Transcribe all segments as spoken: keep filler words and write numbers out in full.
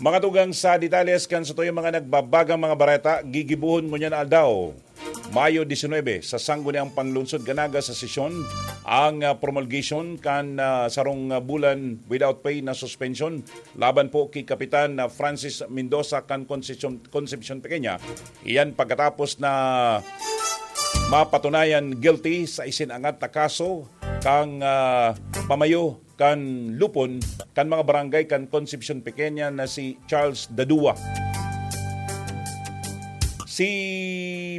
Mga tugang, sa detalles kan satuyang mga nagbabagang mga bareta, gigibohon ngunyan aldaw, Mayo disinuybe, sa Sangguniang Panglungsod kan Naga sa sesyon ang, ah, promulgation kan, ah, sarong, ah, bulan without pay na suspension laban po ki Kapitan, ah, Francis Mendoza kan Concepcion, Concepcion Pequeña. Iyan pagkatapos na mapatunayan guilty sa isinangat na kaso kan, ah, pamayo kan lupon kan mga barangay kan Concepcion Pequeña na si Charles Dadua. Si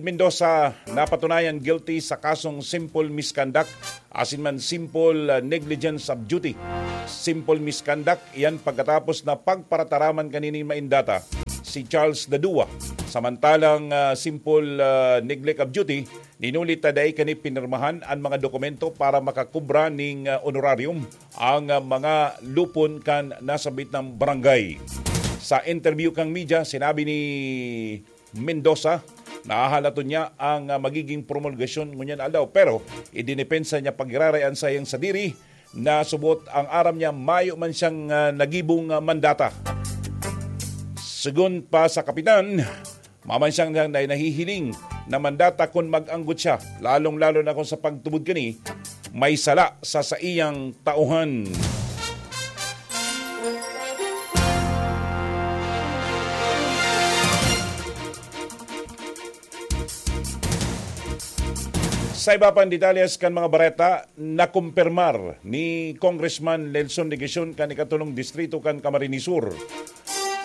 Mendoza napatunayan guilty sa kasong simple misconduct asin man simple, ah, negligence of duty. Simple misconduct, iyan pagkatapos na pagparataraman kan ini maindata si Charles Dadua. Samantalang, ah, simple, ah, neglect of duty, ninuli ta dai kani pinirmahan an mga dokumento para makakubra ning, ah, honorarium ang, ah, mga lupon kan nasabit na barangay. Sa interview kan media, sinabi ni Mendoza, nahahalaton niya ang, ah, magiging promulgasyon ngunyan aldaw, pero idinepensa niya pagiraray an sayang sadiri na subot ang aram niya mayo man siyang, ah, nagibong, ah, mandata. Segun pa sa kapitan, mayo man siyang na, na, nahihiling na mandata kun mag-anggot siya, lalong-lalo na kung sa pagtubod kani, may sala sa saiyang tauhan. Sa iba pang detalles kan mga bareta, nakumpirmar ni Congressman Nelson Legacion kan ikatulong distrito kan Camarines Sur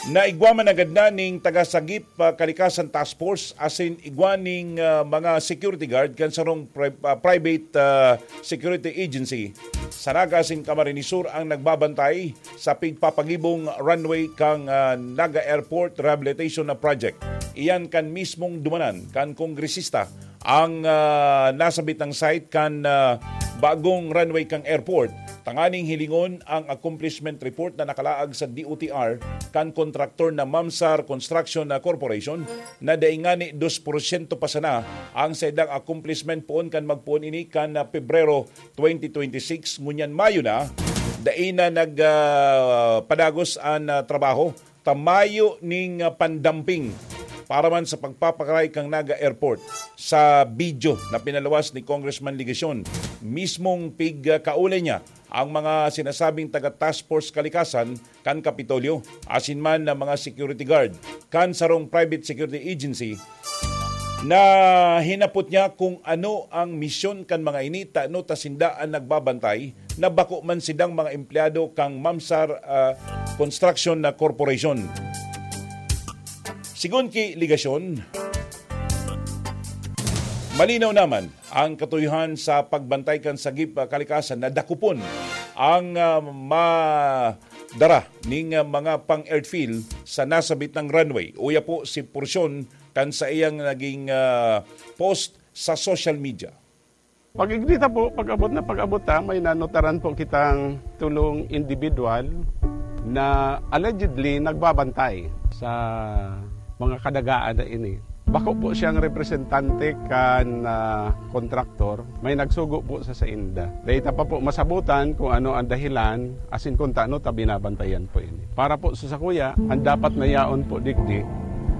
na igwa man agad na ning taga-Sagip, ah, Kalikasan Task Force asin igwa ning, ah, mga security guard kan sarong pri-, ah, private, ah, security agency sa Naga asin Camarines Sur ang nagbabantay sa pigpapagibong runway kan, ah, Naga Airport Rehabilitation na Project. Iyan kan mismong dumanan kan kongresista ang, ah, nasabit na site kan, ah, bagong runway kan airport, tanganing hilingon ang accomplishment report na nakalaag sa D O T R kan kontraktor na Mamsar Construction na Corporation, na dai ngani dos porsyento pa sana ang saindang accomplishment poon kan magpoon ini kan, ah, Pebrero twenty twenty-six, ngunyan Mayo na, dai na nag, ah, padagos an, ah, trabaho ta mayo ning, ah, pandamping para man sa pagpapakaray kan Naga Airport. Sa video na pinaluwas ni Congressman Legacion, mismong pigkaulay niya ang mga sinasabing taga Task Force Kalikasan kan Kapitolyo, asin man na mga security guard kan sarong private security agency na hinapot niya kung ano ang misyon kan mga ini, tano ta sinda an nagbabantay na bako man sidang mga empleyado kan Mamsar, ah, Construction na Corporation. Sigon ki Legacion, malinaw naman ang katuyohan sa pagbantay kan Sagip, ah, Kalikasan na dakopon ang, ah, madara ning, ah, mga pang-airfield sa nasabit na runway. Uya po si porsyon kan saiyang naging, ah, post sa social media. Pag-ignita po, pag-abot na pag-abot ta, may nanotaran po kitang tulong individual na allegedly nagbabantay sa mga kadagaan na ini. Bako po siyang representante kan, ah, kontraktor, may nagsugo po sa sainda. Dahil ta pa po masabutan kung ano ang dahilan, asin kung tano ta binabantayan po ini. Para po sa sakuya, ang dapat na yaon po digdi,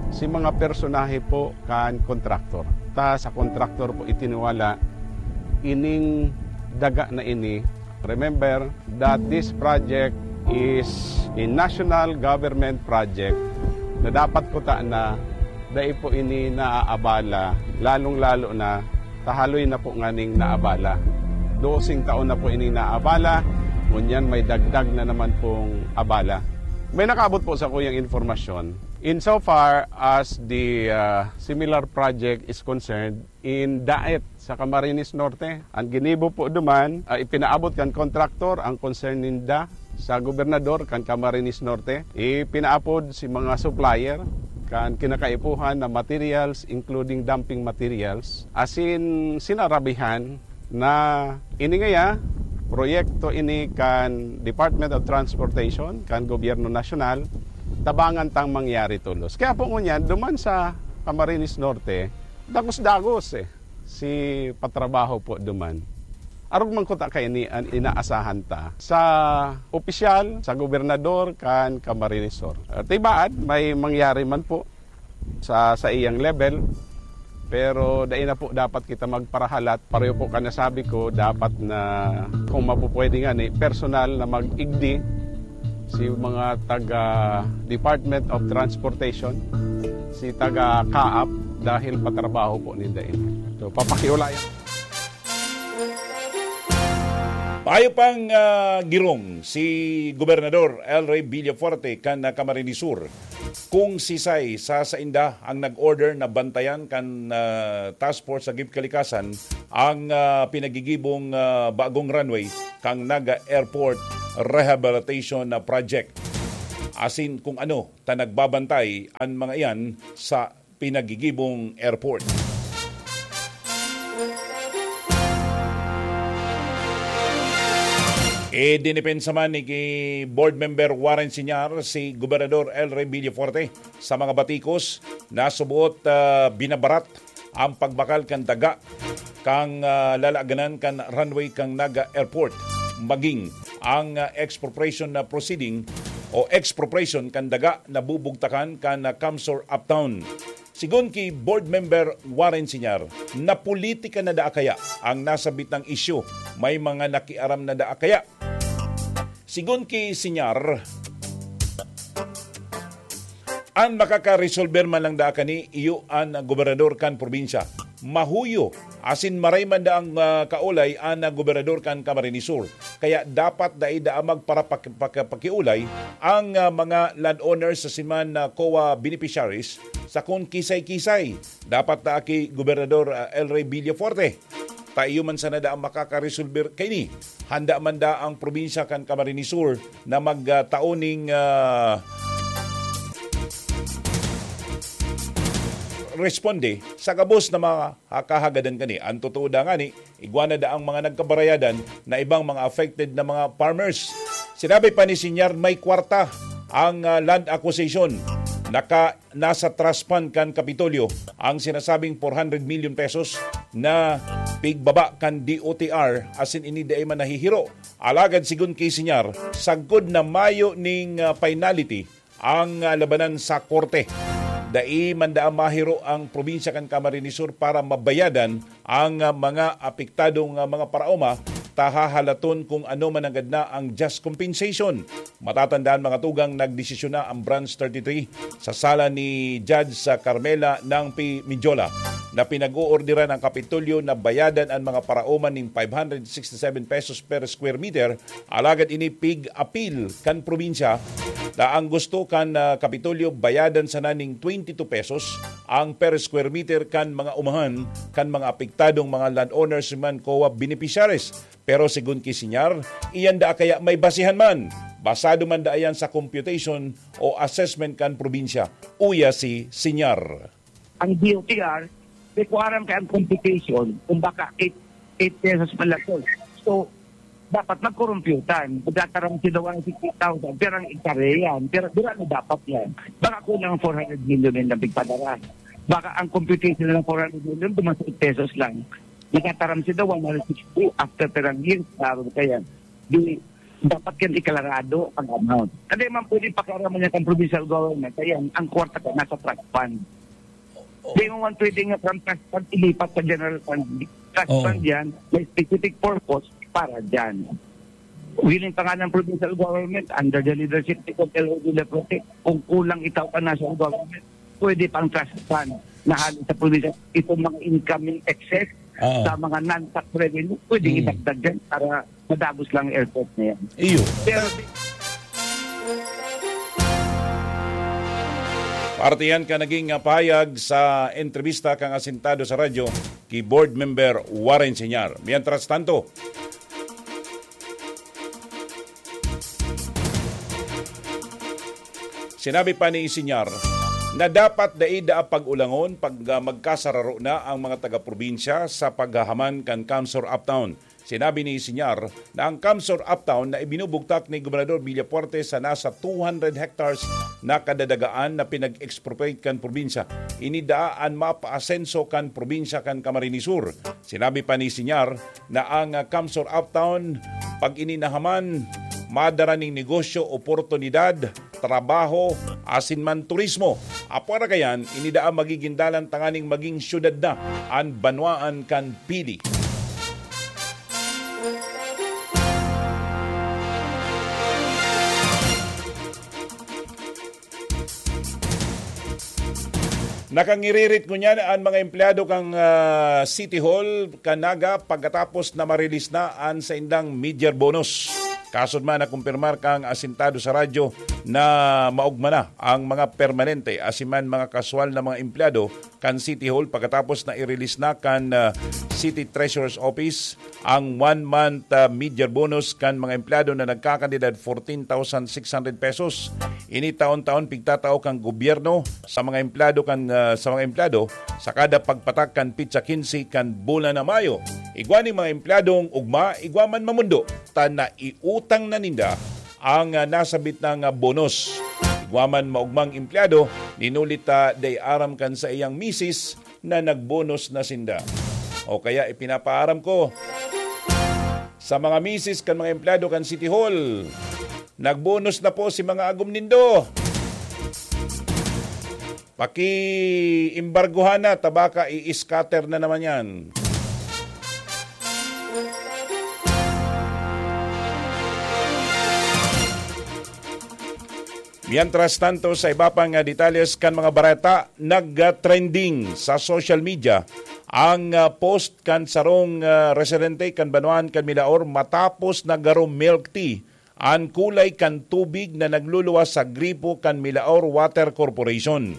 si mga personahe po kan kontraktor. Ta sa kontraktor po itiniwala ining daga na ini. Remember that this project is a national government project na dapat kuta na dai po ini naaabala, lalong-lalo na tahaloy na po nganing naabala. Dosing taon na po ini naabala, ngunyan may dagdag na naman pong abala. May nakaabot po sa kuyang informasyon. Insofar as the, ah, similar project is concerned, in Daet sa Camarines Norte. Ang ginibo po duman, ah, ipinaabot kan kontraktor ang concern ninda sa gobernador kan Camarines Norte. Ipinaapod si mga supplier kan kinakaipuhan na materials, including dumping materials, asin sinarabihan na ini ngaya proyekto ini kan Department of Transportation, kan Gobyerno Nasyonal, tabangan tang mangyari tolos. Kaya po ngunyan, duman sa Camarines Norte, dagos-dagos, eh, si patrabaho po duman. Arog man kuta kaini an inaasahan ta sa opisyal, sa gobernador, kan Camarines Sur. Ah, tibaad, may mangyari man po sa saiyang level, pero dai na po dapat kita magparahalat. Pareho po kan nasabi ko, dapat na, kung mapupwede nga ni, personal na mag-igdi si mga taga Department of Transportation, si taga kaap, dahil patrabaho po ninda ini. So, papakiulayan. Maayo pang, ah, girong si Gobernador El Rey Villafuerte kan, ah, Camarines Sur, kung sisay sa sainda ang nag-order na bantayan kan, ah, Task Force sa Gib Kalikasan ang, ah, pinagigibong, ah, bagong runway kan Naga Airport Rehabilitation, ah, Project. Asin kung ano ta nagbabantay an mga iyan sa pinagigibong airport. Idinipensa man ni ki Board Member Warren Siñar si Gobernador El Rey Villafuerte sa mga batikos na suboot, ah, binabarat ang pagbakal kan daga kan, ah, lalaganan kan runway kan Naga Airport, maging ang, ah, expropriation na proceeding o expropriation kan daga na bubugtakan kan, ah, Kamsur Uptown. Sigon ki Board Member Warren Siñar, napolitika na daa kaya ang nasabitang isyu? May mga nakiaram na daa kaya? Sigon ki Siñar, an makakaresolber man lang daa kani iyo an gobernador kan probinsya. Mahuyo asin maray man daang, ah, kaolay an gobernador kan Camarines Sur. Kaya dapat dai daa magparapak-, paka-, pakiolay ang, ah, mga landowners sa siman na COA beneficiaries sa kun kisay-kisay. Dapat daa ki Gobernador, ah, El Rey Villafuerte. Ta iyo man sana daa makakaresolber kaini. Handa man daa ang probinsya kan Camarines Sur na magtao ning, ah, responde sa gabos na mga kahagadan kani. Ang totoo da ngani, igwa na daang mga nagkabarayadan na ibang mga affected na mga farmers. Sinabi pa ni Siñar, may kwarta ang, ah, land acquisition. Naka, nasa trust fund kan Kapitolyo ang sinasabing four hundred million pesos na pigbaba kan D O T R, asin ini dai man nahihiro. Alagad sigon ki Siñar, sagkod na mayo ning, ah, finality ang, ah, labanan sa korte. Dai man daa mahiro ang probinsya kan Camarines Sur para mabayadan ang, ah, mga apektadong, ah, mga paraoma, ta hahalaton kung ano man nanggad na ang just compensation. Matatandaan, mga tugang, nagdesisyon na ang Branch thirty-three sa sala ni Judge, ah, Carmela Nangpi Midjola na pinag-oorderan ang Kapitolyo na bayadan ang mga paraoma ning five hundred sixty-seven pesos per square meter. Alagad ini pig-apil kan probinsya na ang gusto kan, ah, Kapitolyo bayadan sana ning twenty-two pesos ang per square meter kan mga umahan kan mga apektadong mga landowners man COA beneficiaries. Pero sigon ki Siñar, iyan daa kaya may basihan man. Basado man daa iyan sa computation o assessment kan probinsya. Uya si Siñar. Ang D O T R, di ko aram kay ang computation, kung baka eight, eight pesos man lang to. So, dapat magkorumpyutan. Magtataram sila one sixty thousand, pero ang ektarya yan, pero dira na dapat yan. Baka kulang four hundred million yung nabigpadara. Baka ang computation ng four hundred million, duman sa eight pesos lang. Nagtataram sila one hundred sixty after perang years, klaro na kaya. Di, dapat yan iklarado ang amount. Hindi man pwede pakiaraman niya kang provincial government. Ayan, ang kwarta ka nasa trust fund. Oo. Di mo man pwede nga from trust fund ilipat sa general fund. Trust Oo. fund yan, may specific purpose para dyan. Willing pa nga ng provincial government under the leadership ni Kong L O Villafuerte, kung kulang itaw pa national government, pwede pang trust fund na hali sa probinsya. Itong mga incoming excess Oo. sa mga non-tax revenue, pwedeng Hmm. idagdag dyan para madagos lang ang airport na yan. Iyo. Pero Parte yan ka naging, ah, pahayag sa entrebista kang asintado sa radyo ki Board Member Warren Siñar. Mientras tanto, sinabi pa ni Siñar na dapat dai daa pag-ulangon pag, ah, magkasararo na ang mga taga-probinsya sa paghahaman kan Kamsur Uptown. Sinabi ni Siñar na ang CamSur Uptown na ibinubugtak ni Gobernador Villafuerte sa nasa two hundred hectares na kadadagaan na pinag-expropriate kan probinsya, ini daa an mapaasenso kan probinsya kan Camarines Sur. Sinabi pa ni Siñar na ang, ah, CamSur Uptown, pag ini nahaman, madara nin negosyo, oportunidad, trabaho, asin man turismo. Apwera kayan, ini daa magigin dalan tanganing magin syudad na an banwaan kan Pili. Nakangiririt ngunyan an mga empleyado kan, ah, City Hall kan Naga pagkatapos na ma-release na an saindang mid-year bonus. Kasod man, nakumpirmar kan asintado sa radyo na maogma na ang mga permanente asin man mga kaswal na mga empleyado kan City Hall pagkatapos na i-release na kan, ah, City Treasurer's Office ang one month, ah, mid-year bonus kan mga empleyado na nagkakantidad fourteen thousand six hundred pesos. Ini taon-taon pigtatao kan gobyerno sa mga empleyado kan, ah, sa mga empleyado sa kada pagpatak kan petsa quince kan bulan na Mayo. Igwa nin mga empleyadong ugma, igwa man mamundo, ta naiutang na ninda ang, ah, nasabit na nga bonus. Igwa man maugmang empleyado, ninuli ta dai aram kan saiyang misis na nagbonos na sinda. O kaya ipinapaaram ko sa mga misis kan mga empleyado kan City Hall, nagbonos na po si mga agom nindo. Paki-embargohan na, ta baka i-scatter na naman yan. Mientras tanto, sa iba pang, ah, detalles kan mga bareta, nag-trending sa social media ang, ah, post kan sarong, ah, residente kan banwaan kan Milaor matapos na garo milk tea an kulay kan tubig na nagluluwas sa gripo kan Milaor Water Corporation.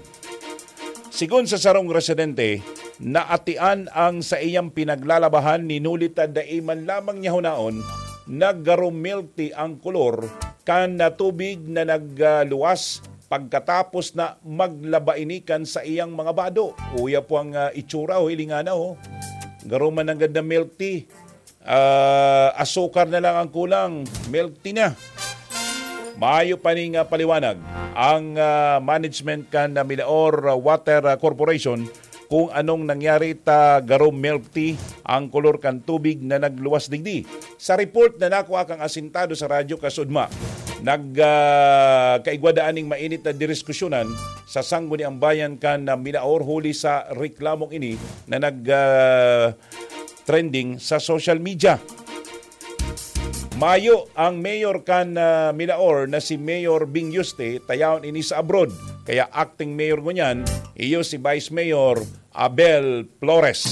Sigon sa sarong residente, naatian ang saiyang pinaglalabahan, ninuli ta dai man lamang niya hunaon na garo milk tea ang kolor kan, ah, tubig na nagluwas pagkatapos na maglaba ini kan saiyang mga bado. Uya po ang, ah, itsura, oh, hilinga na, oh. Garo man nanggad na milk tea. Ah, asukar na lang ang kulang, milk tea na. Mayo pa ning, ah, paliwanag ang, ah, management kan, ah, Milaor, ah, Water, ah, Corporation kung anong nangyari ta garo milk tea ang kolor kan tubig na nagluwas digdi. Sa report na nakuha kang asintado sa radyo kasudma, nag, ah, kaigwa daan ning mainit na diriskusyonan sa Sangguniang Bayan kan, ah, Milaor huli sa reklamong ini na nag, ah, trending sa social media. Mayo ang mayor kan, ah, Milaor na si Mayor Bing Yuste, tayawon ini sa abroad. Kaya acting mayor ngunyan, iyo si Vice Mayor Abel Flores.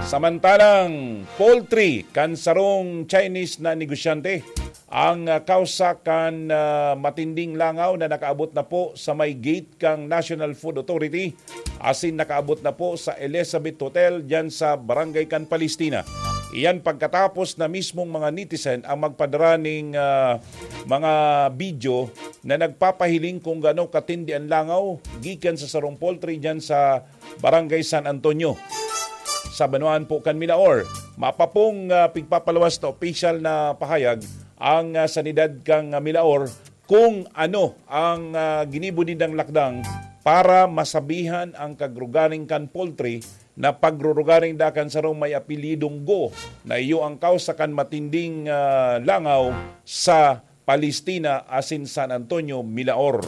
Samantalang poultry kan sarong Chinese na negosyante ang, ah, kausa kan, ah, matinding langaw na nakaabot na po sa may gate kan National Food Authority asin nakaabot na po sa Elizabeth Hotel diyan sa Barangay kan Palestina. Iyan pagkatapos na mismong mga netizen ang magpadara ning, ah, mga video na nagpapahiling kung gaano katindi an langaw gikan sa sarong poultry diyan sa Barangay San Antonio, sa banwaan po kan Milaor. Mapapong, ah, pigpapaluwas na opisyal na pahayag ang, ah, sanidad kan, ah, Milaor kung ano ang, ah, ginibo nindang lakdang para masabihan ang kagrugaring kan poultry na pagrurugaring da kan sarong may apelyidong Go na iyo ang kausa kan matinding, ah, langaw sa Palestina asin San Antonio, Milaor.